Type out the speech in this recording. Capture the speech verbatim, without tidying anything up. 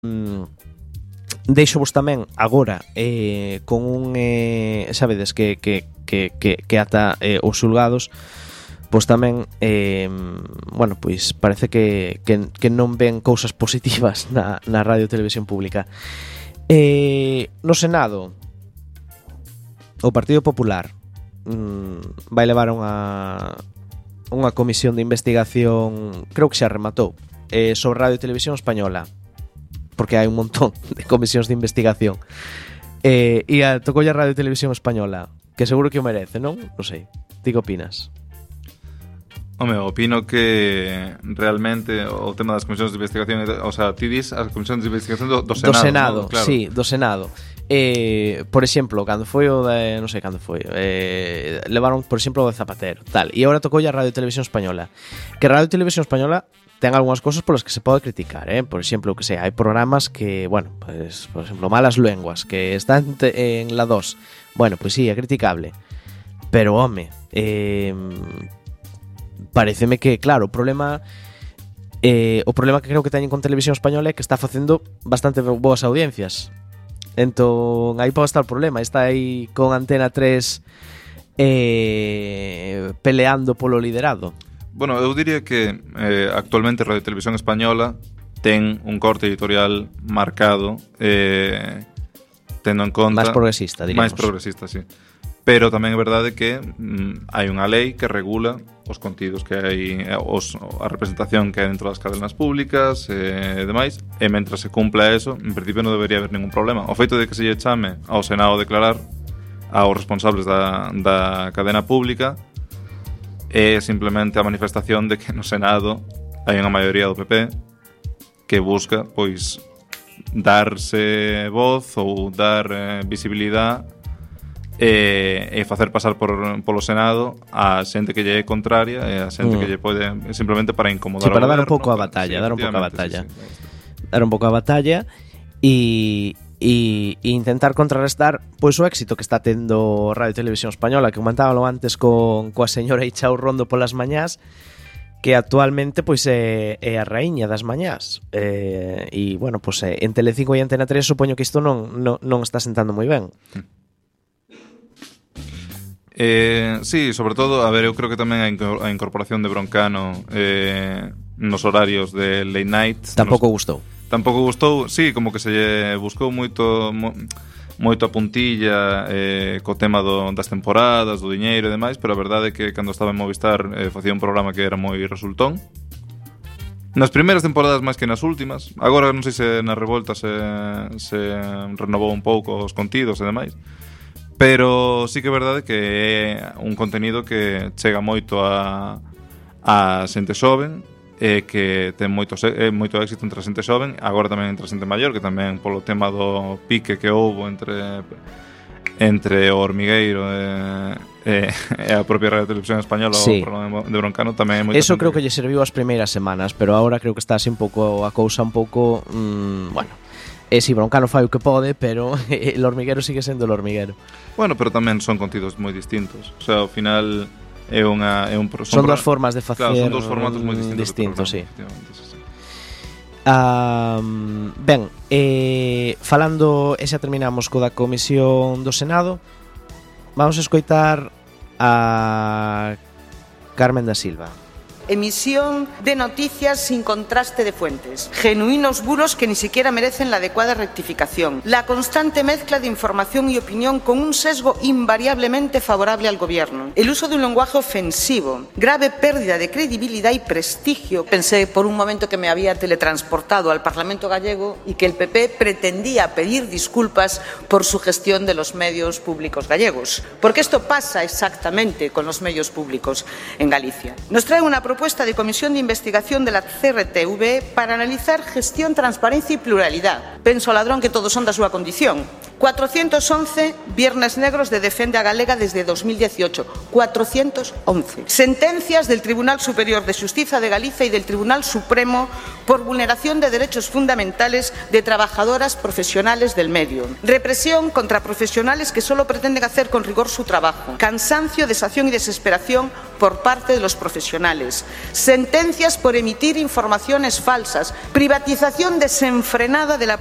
mm, deixo vos tamén agora eh, con un eh, sabedes que, que, que, que, que ata eh, os xulgados pois tamén eh, bueno, pois parece que, que, que non ven cousas positivas na, na radio e televisión pública. Eh, no Senado o Partido Popular mm, vai levar unha unha comisión de investigación, creo que xa rematou, eh, sobre radio e televisión española, porque hai un montón de comisións de investigación. Eh, e a tocoulle a radio e televisión española, que seguro que o merece, non? Non sei. Ti que opinas? Home, opino que realmente o tema das comisións de investigación, o sea, ti dis as comisións de investigación do, do Senado, do Senado, ¿no? Claro. Sí, do Senado. Eh, por exemplo, cando foi o de, non sei cando foi, eh, levaron, por exemplo, o de Zapatero, tal. E agora tocoulle a Radio e Televisión Española. Que Radio e Televisión Española ten algunhas cousas polas que se pode criticar, eh? Por exemplo, que sei, hai programas que, bueno, pues, por exemplo, Malas Lenguas, que están te, en la dos. Bueno, pois pues sí, é criticable. Pero, home, eh, pareceme que, claro, o problema eh, o problema que creo que teñen con Televisión Española é que está facendo bastante boas audiencias. Entón, aí pode estar o problema. Está aí con Antena tres eh, peleando polo liderado. Bueno, eu diría que eh, actualmente Radio Televisión Española ten un corte editorial marcado, eh, tendo en conta... máis progresista, diríamos. Máis progresista, sí. Pero tamén é verdade que mm, hai unha lei que regula os contidos que hai, os, a representación que hai dentro das cadenas públicas e eh, demais, e mentras se cumpla eso, en principio non debería haber ningún problema. O feito de que se lle chame ao Senado a declarar aos responsables da, da cadena pública é simplemente a manifestación de que no Senado hai unha maioría do P P que busca, pois, darse voz ou dar eh, visibilidade e, e facer pasar por, polo Senado a xente que lle é contraria e a xente mm. que lle pode simplemente para incomodar sí, para ao dar un goberno, pouco a batalla, sí, dar un pouco a batalla. Sí, sí. Dar un pouco a batalla e e intentar contrarrestar pois o éxito que está tendo Radio e Televisión Española, que comentábalo antes con coa señora Ichao Rondo polas mañás, que actualmente pois é, é a raíña das mañás. Eh, e bueno, pois é, en Telecinco e Antena tres supoño que isto non, non, non está sentando moi ben. Eh, sí, sobre todo, a ver, eu creo que tamén a incorporación de Broncano eh, nos horarios de late night tampouco nos... gustou. Tampouco gustou, sí, como que se lle buscou moito mo, moito a puntilla eh, co tema do, das temporadas, do diñeiro e demais, pero a verdade é que cando estaba en Movistar eh, facía un programa que era moi resultón. Nas primeiras temporadas máis que nas últimas. Agora non sei se na revolta se, se renovou un pouco os contidos e demais, pero sí que é verdade que é un contenido que chega moito a, a xente xoven, e que ten moito, eh, moito éxito entre a xente xoven, agora tamén entre a xente maior, que tamén polo tema do pique que houbo entre entre o Hormigueiro e, e, e a propia Radio Televisión Española, sí. O programa de Broncano tamén é moito. Eso creo que lle serviu as primeiras semanas, pero agora creo que está así un pouco a cousa un pouco, mmm, bueno, e si Broncano fai o que pode, pero o Hormigueiro sigue sendo o Hormigueiro. Bueno, pero tamén son contidos moi distintos. O sea, ao final é unha é un son, son dos formas de facer, claro, son dos formatos moi distintos, distintos, sí. Sí, sí. Um, ben, eh, falando, e xa terminamos co da Comisión do Senado, vamos a escoitar a Carmen da Silva. Emisión de noticias sin contraste de fuentes, genuinos bulos que ni siquiera merecen la adecuada rectificación, la constante mezcla de información y opinión con un sesgo invariablemente favorable al gobierno, el uso de un lenguaje ofensivo, grave pérdida de credibilidad y prestigio. Pensé por un momento que me había teletransportado al Parlamento gallego y que el P P pretendía pedir disculpas por su gestión de los medios públicos gallegos, porque esto pasa exactamente con los medios públicos en Galicia. Nos trae una propuesta de comisión de investigación de la C R T V para analizar gestión, transparencia y pluralidad. Penso, ladrón, que todos son da súa condición. cuatrocientos once viernes negros de Defende a Galega desde dos mil dieciocho. cuatrocientos once. Sentencias del Tribunal Superior de Xustiza de Galicia y del Tribunal Supremo por vulneración de derechos fundamentales de trabajadoras profesionales del medio. Represión contra profesionales que solo pretenden hacer con rigor su trabajo. Cansancio, desazón y desesperación por parte de los profesionales. Sentencias por emitir informaciones falsas. Privatización desenfrenada de la